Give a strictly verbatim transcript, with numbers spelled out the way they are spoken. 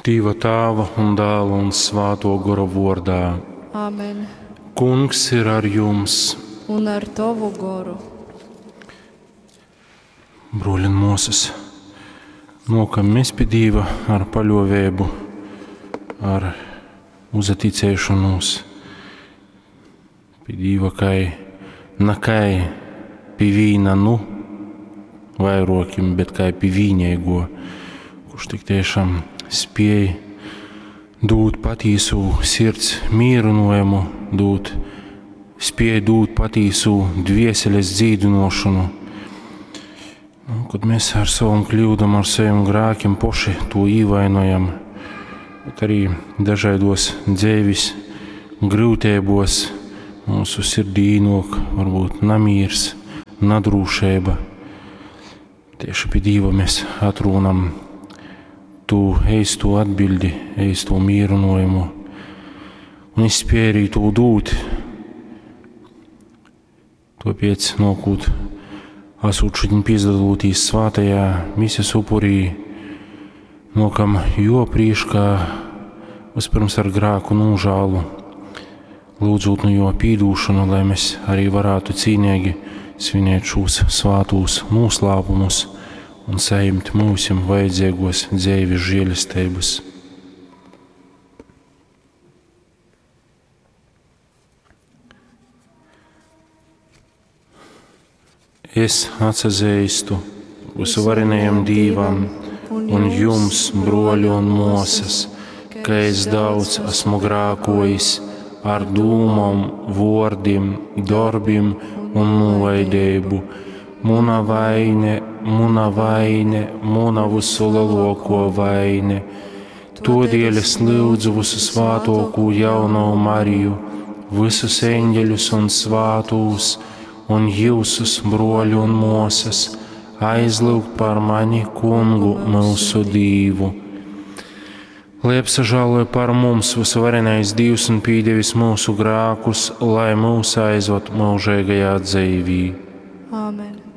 Dīva Tāva un Dāla un Svāto Gora vordā. Amen. Kungs ir ar jums. Un ar tovu goru. Bruoļi un muosys, nuokam mēs pi Dīva ar paļovēbu, ar uzaticēšanos pi Dīva kai na kai pi vīna nu vairuokim, bet kai pi vīneigo, kurš tik tiešām spiej dūt patīsū sirds mīrynuojumu, dūt, spiej dūt patīsū dvieseles dzīdynuošonu. Nu, kod mēs ar savom kļūdom, ar saviem grākiem poši to īvainojam, bet arī dažaidos dzeivis gryuteibos mūsu sirdī īnok varbūt namīrs, nadrūšeiba. Tieši pi Dīva mēs atrūnam tū eisto atbildi, eisto mīrynuojumu, un viņš spēj arī tū dūt. Tuopiec nuokūt, asūt šodien pīsadalūtīs svātajā mises upurī, nuokam juo prīškā vispirms ar grāku nūžālu, lūdzūt nu juo pīdūšanu, lai mēs arī varētu cīnīgi svinēt šūs svātūs nūslāpumus un sajimt myusim vajadzeigos dzeivis žēlesteibys. Es atsazeistu vysuvarenajam Dīvam un jums, bruoļi un muosys, ka es daudz esmu grākojis ar dūmom, vuordim, dorbim un nūlaideibu. Muna vaine, muna vaine, muna vysuleluokuo vaine. Tuodieļ es lyudzu vysu svātuokū jaunovu Mariju, vysus eņģeļus un svātūs, un jiusus, bruoļi un muosys, aizlyugt par mani Kungu myusu Dīvu. Lai apsažāloj par mums vysuvarenais Dīvs un pīdevis myusu grākus, lai mūs aizvad myužeigajā dzeivī. Āmen.